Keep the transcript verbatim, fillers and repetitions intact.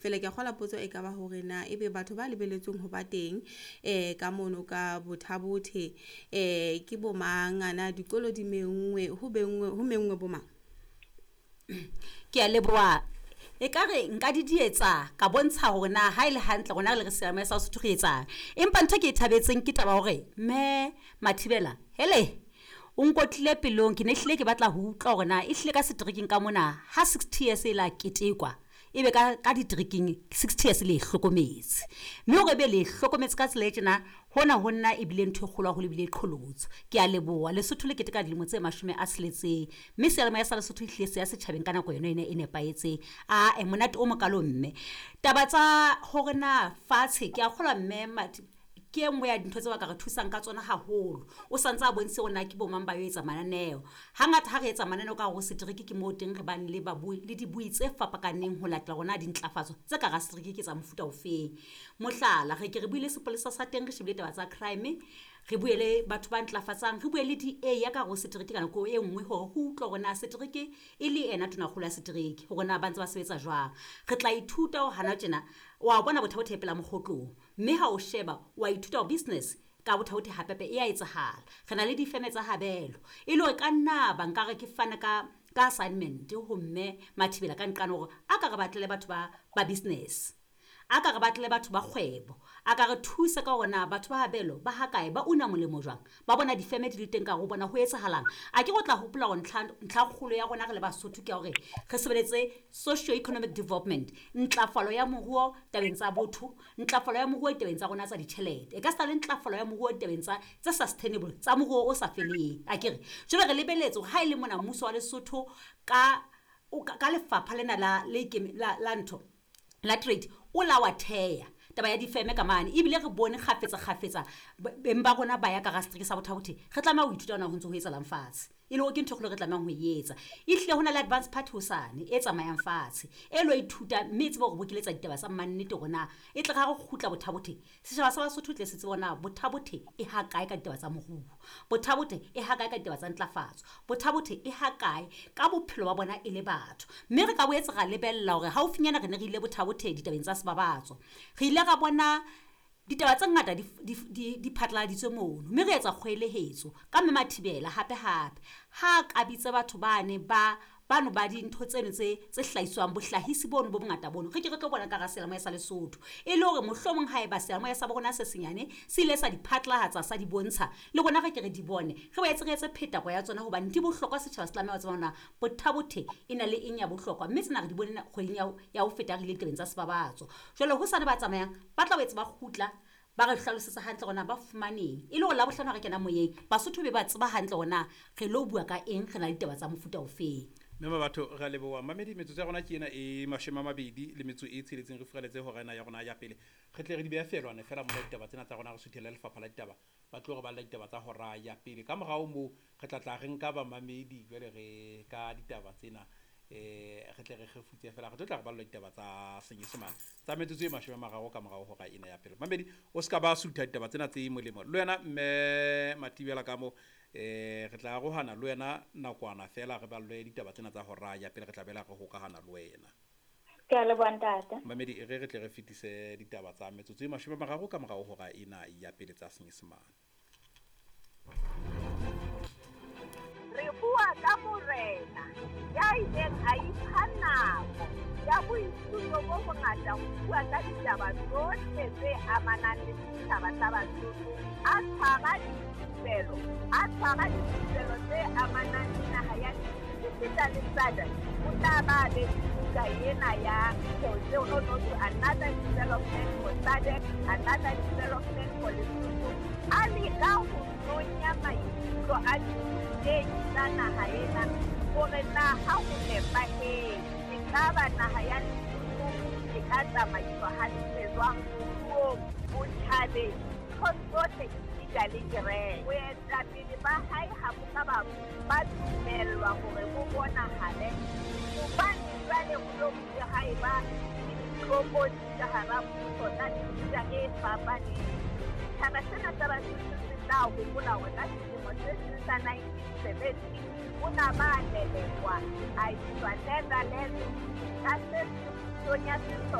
Fela ke a kgola potso e ka ba hore na ebe batho ba lebelletsweng ho ba teng eh ka mono ka Botha-Bothe eh ke bo mang, ana dikolo di menngwe, ho benngwe ho menngwe bo mang? Ke a leboha. Ekare nka di dietsa ka bontsha hore na ha ele hantle rona re le re seyalemoya sa Sesotho re etsang. Empa ntho e ke e thabetseng ke taba ya hore mme Mathibela hele o nkotlile pelong, ke ne hlile ke batla ho utlwa hore na e hlile ka seterekeng ka mona ha sixty years e la ketekwa ebe ka ka diterekeng sixty years le e hlokometse, mme hore ebe le e hlokometse ka tsela e tjena hona ho nna ebile ntho e kgolo haholo ebile e qholotso. Ke a leboha Lesotho le keteka dilemo tse mashome a tsheletseng, mme seyalemoya sa Lesotho ehlile se ya setjhabeng ka nako yona ena e nepahetseng. Ae monate o mokalo mme taba tsa hore na fatshe ke a kgolwa mme Mathi ke e nngwe ya dintho tseo ba ka re thusang ka tsona haholo. O santse a bontshitse hore na ke bo mang ba yo etsa mananeo. Hangata ha re etsa mananeo ka hare ho setereke ke moo teng re bang le babui le dibui tse fapakaneng ho latela hore na dintlafatso tse ka hara setereke ke tsa mofuta ofeng. Mohlala, re ke re buile sepolesa sa teng, re shebile taba tsa crime, re bue le batho ba ntlafatsang, re bue le D A ya ka hare ho setereke ka nako e nngwe hore ho utlwe hore na setereke e le ena tonakgolo ya setereke hore na ba ntse ba sebetsa jwang. Re tla ithuta hore hana tjena wa bona Botha-Bothe pela mokgotlong, mme ha o sheba wa ithuta hore business ka Botha-Bothe hapepe e a etsahala. Re na le difeme tsa habelo e le hore ka nna ba nkare ke fana ka ka assignment ho mme Mathibela ka nqane hore a ka re batlele batho ba ba business, a ka re batlele batho ba kgwebo, a ka re thusa ka hore na batho ba habelo ba hakae, ba una molemo jwang, ba bona difeme di le teng ka hore bona ho etsahalang. A ke go tla hopola hore ntlha ntlha kgolo ya rona re le Basotho ke ya hore re sebeletse socio-economic development, ntlafalo ya moruo tabeng tsa botho, ntlafalo ya moruo tabeng tsa rona tsa ditjhelete, e ka seta le ntlafalo ya moruo tabeng tsa tse sustainable tsa moruo o sa feleng. A ke re jwale re lebeletse hore ha e le mona mmuso wa Lesotho ka o ka lefapha lena la le la la ntho la trade o la wa theya taba ya difeme ka mane, ebile re bone kgafetsa kgafetsa beng ba rona ba ya ka hara setereke sa Botha-Bothe. Re tlameha ho ithuta hona ho ntso ho etsahalang fatshe, e le hore ke ntho e kgolo re tlamehang ho e etsa. Ehlile ho na le advance party hosane e tsamayang fatshe e lo ithuta, mme e tsebe hore bokeletsa ditaba tsa mannete hore na e tle ra re kgutla Botha-Bothe setjhaba sa Basotho tle se tsebe hore na Botha-Bothe e ha kae ka ditaba tsa moruo, Botha-Bothe e ha kae ka ditaba tsa ntlafatso, Botha-Bothe e ha kae ka bophelo ba bona e le batho. Mme re ka boetse ra lebella hore haufinyana re ne re ile Botha-Bothe ditabeng tsa sebabatso, re ile ra bona ditaba tse ngata di di di di phatlaladitswe mono, mme re etsa kgoelehetso ka mme Mathibela hape hape ha ka bitsa batho bane ba bano ba dintho tseno tse tse hlahiswang bohlahisi bono bo bongata bono, re ke re tlo bona ka hara seyalemoya sa Lesotho e le hore mohlomong ha eba seyalemoya sa bo rona se senyane se ile sa di phatlalatsa sa di bontsha le rona re ke re di bone, re boetse re etse phetako ya tsona hobane di bohlokwa. Setjhaba se tlameha ho tseba hore na Botha-Bothe e na le eng ya bohlokwa, mme tsena re di bone kgweding ya ho ya ho feta re ile ditabeng tsa sebabatso. Jwale hosane ba tsamayang ba tla boetse ba kgutla ba re hlalosetsa hantle hore na ba fumaneng, e le hore Labohlano ha re kena moyeng Basotho be ba tseba hantle hore na re lo bua ka eng, re na le ditaba tsa mofuta ofeng. Mme batho re a leboha mamedi, metsotso ya rona ke ena e mashome a mabedi le metso e tsheletseng, re furaletse hora ena ya rona ya pele. Re tle re di behe feelwane fela mona ditaba tsena tsa rona, re suthele lefapha la ditaba ba tlo re balla ditaba tsa hora ya pele. Ka morao moo re tla tla re nka bamamedi jwale re ka ditaba tsena eh re tle re kgefutse fela, re tlo tla re ballwa ditaba tsa Senyesemane tsa metsotso e mashome a mararo ka morao hora ena ya pele. Mamedi o ska ba sutha ditaba tsena tse molemo le wena mme Mathibela ka mo eh re tla arohana le wena nakwana fela re ballwe ditaba tsena tsa hora ya pele, re tla bela re hokahana le wena. Ke a leboha ntate. Mamedi e re re tle re fetise ditaba tsa metsotso e mashome a mararo ka morao hora ena ya pele tsa Senyesemane. Re bua ka morena ya ileng a ipha nako ya boithuto bo bongata ho bua ka ditaba tsohle tse amanang le setjhaba sa Basotho, a tshwara dithupelo, a tshwara dithupelo tse amanang le naha ya Lesotho esita le S A D C. O tla ba be le buka ena ya Tseo no no to another development for S A D C, another development for Lesotho. A leka ho nonya maikutlo a dithutehi tsa naha ena hore na ha ho nepahetse ekaba naha ya Lesotho e ka tsamaiswa hantle jwang moruong, botjhabeng, nthong tsohle esita le kereke. Boetapele ba hae ha bo ka ba ba dumellwa hore bo bonahale hobane jwale ho lo bile ha eba le ditlokotsi ka hara puso tsa mefuta e fapaneng. Setjhaba sena sa Basotho se tla hopola hore ka selemo se seng sa nineteen seventy o na ba lelekwa a iswa Netherlands ka se pusong ya sesole.